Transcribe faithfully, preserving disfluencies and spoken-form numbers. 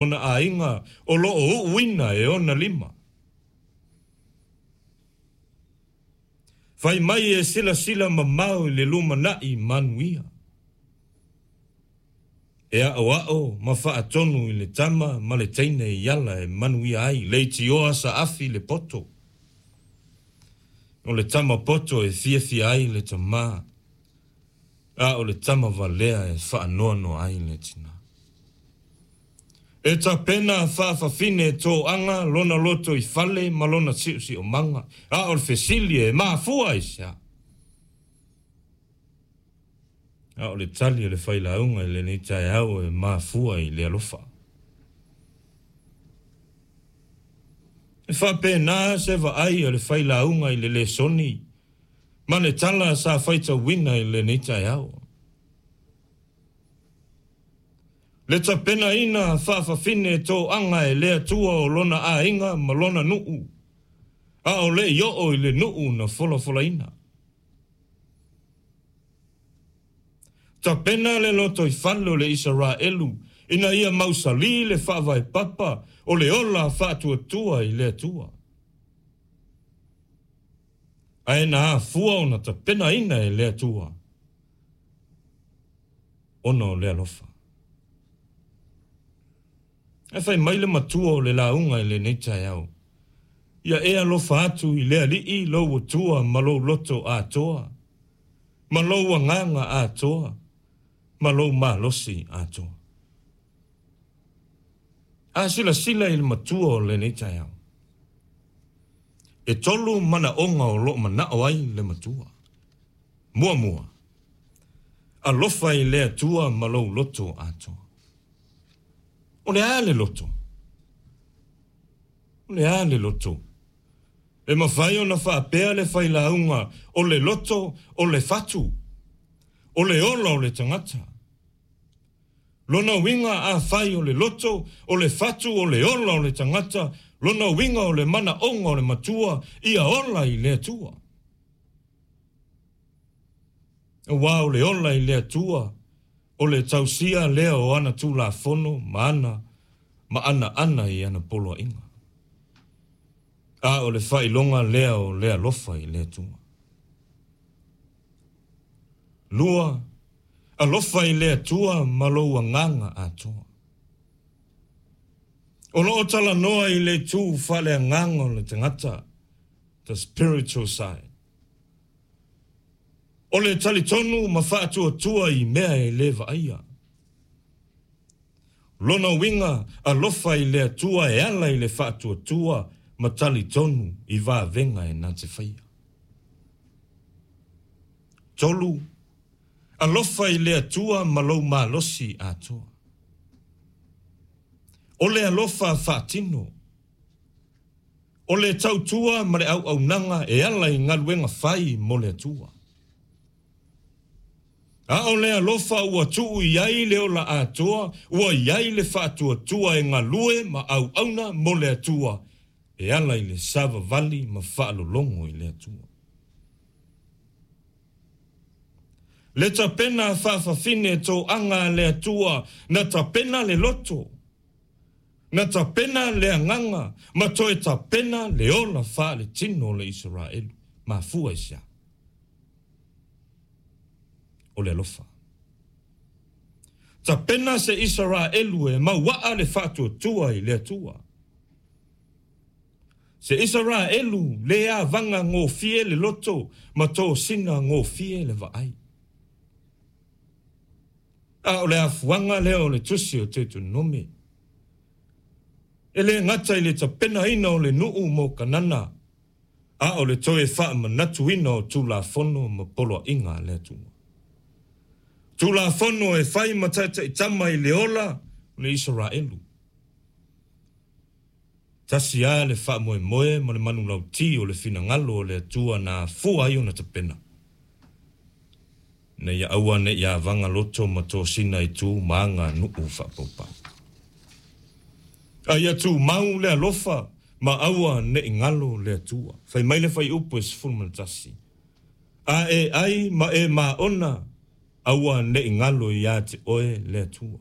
Ona aiga o loo uuina e ona lima. Fai mai e silasila mamao i le lumanai manuia. E aoao ma faatonu i le tama ma le teine i ala e manuia ai, leitioa saafi le poto. O le tama poto e fiafia ai le tamā, a o le tama valea e faanoanoa ai le tinā. E tapena faafafine toaga lona loto i fale ma lona siosiomaga, a o le fesili e mafua i se a? A o le tali o le failauga i lenei taeao e mafua i le alofa. E faapena se vaai a le failauga i le lesoni ma le tala sa faitauina i lenei taeao. Le tapenaina faafafine toaga e le Atua o lona aiga ma lona nuu, a o le i oo i le nuu na folafolaina. Tapena le lotoifale o le Isaraelu ina ia mausali le faavaepapa o le ola faatuatua i le Atua. Ae na afua ona tapenaina e le Atua ona o le alofa. E fai mai le matua o le lauga i lenei taeao, ia e alofa atu i le Alii lou Atua ma lou loto atoa, ma lou agaga atoa, ma lou malosi atoa. A silasila i le matua o lenei taeao, e tolu manaoga o loo manao ai le matua. Muamua, alofa i le Atua ma lou loto atoa. O le a le loto? O le a le loto? E mafai ona faapea le failauga o le loto o le fatu, o le ola o le tagata. Lona uiga afai o le loto, o le fatu, o le ola o le tagata, lona uiga o le manaoga o le matua, ia ola i le Atua. Aua o le ola i le Atua, o le tausia lea o ana Tulafono ma ana ma ana ana i ana poloaiga. A o le faailoga lea o le alofa i le Atua. Lua, alofa i le Atua ma lou agaga atoa. O loo talanoa i le itu faaleagaga o le tagata, the spiritual side. O le talitonu ma faatuatua i mea e le vaaia. Lona uiga alofa i le Atua e ala i le faatuatua ma talitonu i vavega e na te faia. Tolu, alofa i le Atua ma lou malosi atoa. O le alofa faatino. O le tautua ma le auaunaga e ala i galuega fai mo le Atua. A o le alofa ua tuu i ai le ola atoa, ua i ai le faatuatua e galue ma auauna mo le Atua, e ala i le savavali ma faalologo i le Atua. Le tapena faafafine toaga a le Atua, na tapena le loto, na tapena le agaga, ma toe tapena le ola faaletino o le Isaraelu. Mafua i se a? O le alofa. Tapena se Isaraelu e mauaa le faatuatua i le Atua. Se Isaraelu le avaga gofie le loto ma tosina gofie le vaai. A o le afuaga lea o le tusi o Deuteronome. E le gata i le tapenaina o le nuu mo Kanana, a o le toe faamanatuina o Tulafono ma poloaiga a le Atua. Tulafono e fai ma taitaitama i le ola o le Isaraelu. Tasi a le faamoemoe ma le manulauti o le finagalo o le Atua na afua ai ona tapena. Ina ia aua ne i avaga loto ma tosina i tu ma aga nuu faapaupau. A ia tumau le alofa ma aua ne i galo le Atua. Fai mai le fuaiupu e sefulu ma le tasi. A e ai ma e maona, aua ne i galo ia te oe le Atua.